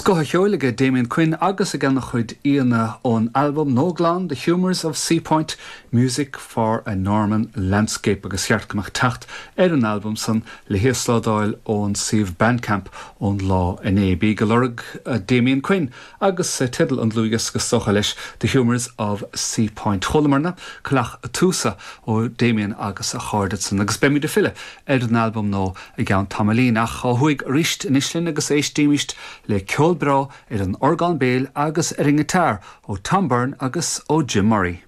Scoth an cheoil aige Damien Quinn agus ag ana chuid aíonna ón albam nua glan The Humours of Seapoint, Music for a Norman Landscape agus cheart go mbeadh teacht ar an albam san le híoslódáil ón suíomh Bandcamp ón lá inné. Bíg ag lorg Damien Quinn agus teideal an dlúthdhiosca is dócha leis, The Humours of Seapoint. Chualamarna Coileach Túsa ó Damien agus a chairde san agus beimid ag filleadh ar an albam nua i gceann tamaillín. Ach ó thuaidh arís anois linn agus éistímist le ceol breá ar an orgán béil agus ar an ngiotár ó Tom Byrne agus ó Jim Murray.